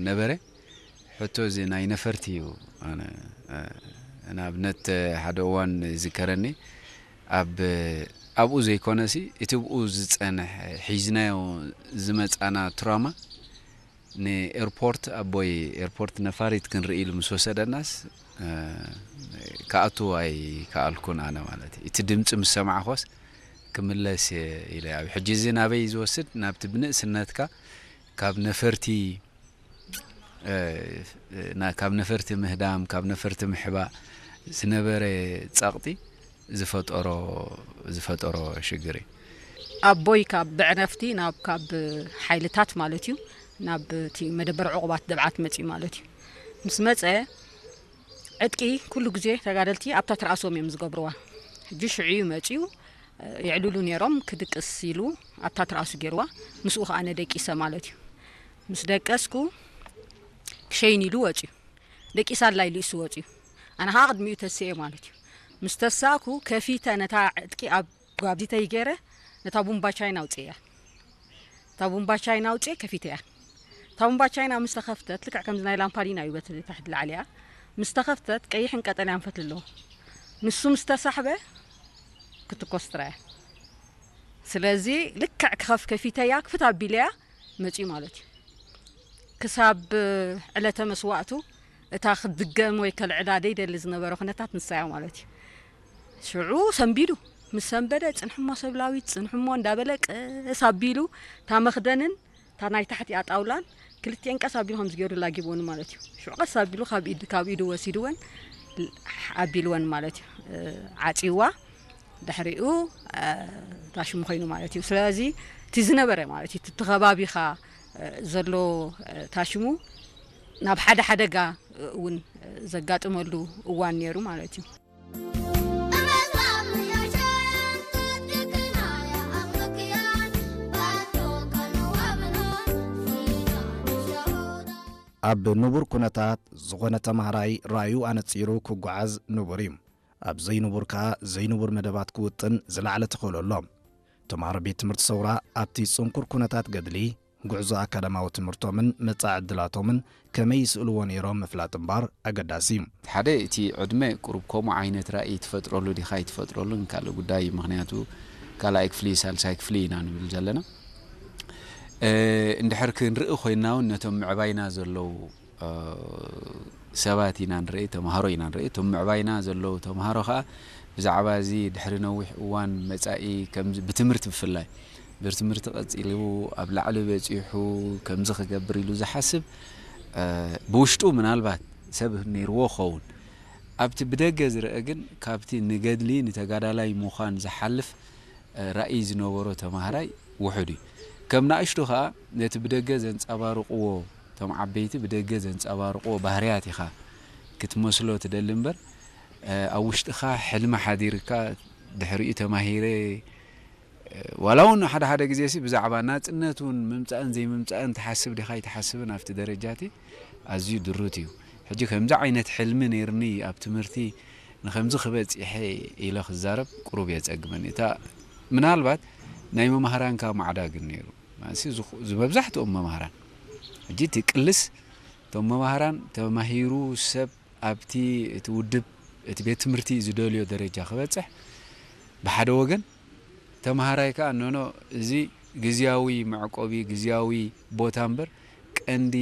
ነበረ። ሕቶ እዚ ናይ ነፈርቲ እዩ። ኣነ፣ እ፣ ንኣብነት ሓደ እዋን ይዝከረኒ፣ ኣብ፣ ኣብኡ ዘይኮነሲ እቲ ብኡ ዝጸንሕ ሒዝናዮ ዝመጻና ትራማ ንኤርፖርት፣ ኣቦይ ኤርፖርት ነፋሪት ክንርኢ ኢሉ ምስ ወሰደናስ፣ እ፣ ክኣቱ ኣይከኣልኩን ኣነ ማለት እዩ። እቲ ድምጺ ምስ ሰማዕኮስ ክምለስ እየ ኢለ። ኣብ ሕጂ እዚ ናበይ ዝወስድ? ናብቲ ብንእስነትካ ካብ ነፈርቲ፣ እ፣ ና-፣ ካብ ነፈርቲ ምህዳም፣ ካብ ነፈርቲ ምሕባእ ዝነበረ ጸቕጢ ዝፈጠሮ፣ ዝፈጠሮ ሽግር እዩ። ኣቦይ ካብ ብዕረፍቲ ናብ፣ ካብ ሓይልታት ማለት እዩ፣ ናብ እቲ መደበር ዕቑባት ደብዓት መጺኡ ማለት እዩ። ምስ መጸ፣ ዕጥቂ ኩሉ ግዜ ተጋደልቲ ኣብታ ትርኣሶም እዮም ዝገብርዋ። ሕጂ ሽዑ እዩ መጺኡ፣ የዕልሉ ነይሮም፣ ክድቅስ ኢሉ ኣብታ ትርኣሱ ገይርዋ። ምስኡ ከኣ ኣነ ደቂሰ ማለት እዩ። ምስ ደቀስኩ፣ ክሸይን ኢሉ ወጺኡ። ደቂሳ ኣላ ኢሉ እሱ ወጺኡ። ኣነ ከኣ ቅድሚኡ ተስኤ ማለት እዩ። ምስ ተሳእኩ፣ ከፊተ ነታ ዕጥቂ ኣብ ጓብዚተይ ገይረ፣ ነታ ቡምባ ቻይና ኣውጽእያ። እታ ቡምባ ቻይና ኣውጽኤ ከፊተያ። እታ ቡምባ ቻይና ምስ ተኸፍተት፣ ልክዕ ከምዚ ናይ ላምፓዲና እዩ፣ በቲ ታሕቲ ላዕሊ እያ። ምስ ተኸፍተት፣ ቀይሕን ቀጠልያን ፈትሊ ኣለዎ። ንሱ ምስ ተሳሕበ፣ ክትኮስ ጥራይ እያ። ስለዚ፣ ልክዕ ክኸፍ ከፊተያ፣ ክፍት ኣቢለያ፣ መጺኡ ማለት እዩ። ክሳብ ዕለተ መስዋእቱ፣ እታ ክትድገም ወይ ከልዕላ ደይደሊ ዝነበረ ኩነታት ንሳ እያ ማለት እዩ። ሽዑ ሰንቢዱ። ምስ ሰንበደ፣ "ጽንሕሞ ሰብላዊት፣ ጽንሕሞ" እንዳበለ ቀስ ኣቢሉ፣ እታ መኽደንን እታ ናይ ታሕቲኣ ጣውላን ክልቲኤን ቀስ ኣቢሉ ከምዚ ገይሩ ላጊብወን ማለት እዩ። ሽዑ ቀስ ኣቢሉ ካብ ኢድ፣ ካብ ኢዱ ወሲድወን ኣቢልወን ማለት እዩ። እ፣ ዓጽይዋ፣ ድሕሪኡ፣ እ፣ ታሽሙ ኮይኑ ማለት እዩ። ስለዚ እቲ ዝነበረ ማለት እዩ፣ እቲ ከባቢኻ፣ እ፣ ዘሎ፣ እ፣ ታሽሙ ናብ ሓደ ሓደጋ፣ እ፣ እውን፣ እ፣ ዘጋጥመሉ እዋን ነይሩ ማለት እዩ። ኣብ ንቡር ኩነታት ዝኾነ ተማሃራይ ራእዩ ኣነጺሩ ክጓዓዝ ንቡር እዩ። ኣብ ዘይንቡር ከኣ ዘይንቡር መደባት ክውጥን ዝለዓለ ተኽእሎ ኣሎ። ተምሃሮ ቤት ትምህርቲ ሰውራ ኣብቲ ጽንኩር ኩነታት ገድሊ፣ ጉዕዞ ኣካዳማዊ ትምህርቶምን መጻኢ ዕድላቶምን ከመይ ይስእልዎ ነይሮም ምፍላጥ እምበር ኣገዳሲ እዩ። ሓደ፣ እቲ ዕድመ ቁሩብ ከምኡ ዓይነት ራእይ ትፈጥረሉ ዲኻ ኣይትፈጥረሉን ካልእ ጉዳይ እዩ። ምኽንያቱ ካልኣይ ክፍሊ፣ ሳልሳይ ክፍሊ ኢና ንብል ዘለና። እ፣ እንድሕር ክንርኢ ኮይንና እውን ነቶም ምዕባይና ዘለዉ፣ እ፣ ሰባት ኢና ንርኢ፣ ተምሃሮ ኢና ንርኢ። እቶም ምዕባይና ዘለዉ ተምሃሮ ኸኣ ብዛዕባ እዚ ድሕሪ ነዊሕ እዋን መጻኢ ከምዚ ብትምህርቲ ብፍላይ ብትምህርቲ ቀጺሉ ኣብ ላዕሊ በጺሑ ከምዚ ክገብር ኢሉ ዝሓስብ፣ እ፣ ብውሽጡ ምናልባት ሰብ ነይርዎ ክኸውን። ኣብቲ ብደገ ዝረአ ግን ካብቲ ንገድሊ ንተጋዳላይ ምዃን ዝሓልፍ፣ እ፣ ራእይ ዝነበሮ ተማሃራይ ውሑድ እዩ። ከም ንኣሽቱ ኸኣ ነቲ ብደገ ዘንጸባርቕዎ፣ እቶም ዓበይቲ ብደገ ዘንጸባርቕዎ ባህርያት ኢኻ ክትመስሎ ትደሊ እምበር፣ እ፣ ኣብ ውሽጥኻ ሕልሚ ሓዲርካ ድሕሪኡ ተማሂረ፣ እ፣ ዋላ እውን ሓደ ሓደ ግዜሲ ብዛዕባ ናጽነት እውን ምምጻእን ዘይምምጻእን ትሓስብ ዲኻ ኣይትሓስብን ኣብቲ ደረጃ እቲ ኣዝዩ ድሩት እዩ። ሕጂ ከምዚ ዓይነት ሕልሚ ነይርኒ ኣብ ትምህርቲ ንኸምዚ ክበጺሐ ኢለ ክዛረብ ቁሩብ የጸግመኒ። እታ ምናልባት ናይ መማህራንካ ማዕዳ ግን ነይሩ። ማለትሲ ዝኹ-፣ ዝመብዛሕትኦም መማህራን፣ ሕጂ እቲ ቅልስ እቶም መማህራን ተማሂሩ ሰብ ኣብቲ እቲ ውድብ እቲ ቤት ትምህርቲ ዝደልዮ ደረጃ ክበጽሕ ብሓደ ወገን፣ ተምሃራይ ከኣ ኖኖ እዚ ግዝያዊ መዕቆቢ፣ ግዝያዊ ቦታ እምበር ቀንዲ፣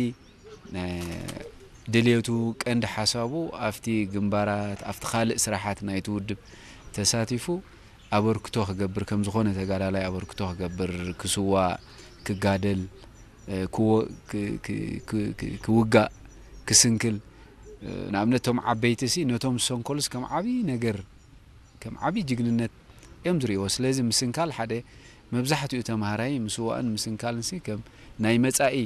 እ፣ ድልየቱ፣ ቀንዲ ሓሳቡ ኣብቲ ግንባራት፣ ኣብቲ ካልእ ስራሓት ናይቲ ውድብ ተሳቲፉ ኣበርክቶ ክገብር፣ ከም ዝኾነ ተጋዳላይ ኣበርክቶ ክገብር፣ ክስዋእ፣ ክጋደል፣ እ፣ ክወ-፣ ክ-፣ ክ-፣ ክ-፣ ክ-፣ ክውጋእ፣ ክስንክል፣ እ፣ ንኣብነት እቶም ዓበይቲሲ ነቶም ዝሰንከሉስ ከም ዓብዪ ነገር፣ ከም ዓብዪ ጅግንነት እዮም ዝርእይዎ። ስለዚ ምስንካል ሓደ መብዛሕትኡ ተምሃራይ ምስዋእን ምስንካልንሲ ከም ናይ መጻኢ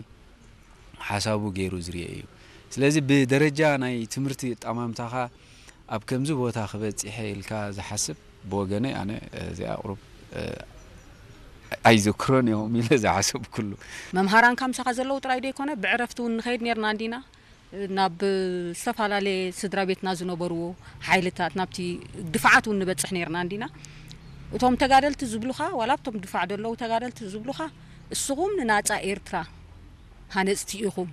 ሓሳቡ ገይሩ ዝርኤ እዩ። ስለዚ ብደረጃ ናይ ትምህርቲ ኣጠማምታኻ ኣብ ከምዚ ቦታ ክበጺሐ ኢልካ ዝሓስብ ብወገነይ ኣነ፣ እ፣ እዚኣ ቁሩብ፣ እ፣ ኣይዘክሮን እዮም ኢለ ዝሓሰብኩሉ። መምሃራንካ ምሳኻ ዘለዉ ጥራይ ዶ ይኮነ? ብዕረፍቲ እውን ንኸይድ ነርና እንዲና፣ ናብ ዝተፈላለየ ስድራ ቤትና ዝነበርዎ ሓይልታት፣ ናብቲ ድፋዓት እውን ንበጽሕ ነርና እንዲና። እቶም ተጋደልቲ ዝብሉኻ፣ ዋላ ኣብቶም ድፋዕ ዘለዉ ተጋደልቲ ዝብሉኻ፣ እስኹም ንናጻ ኤርትራ ሃነጽቲ ኢኹም፣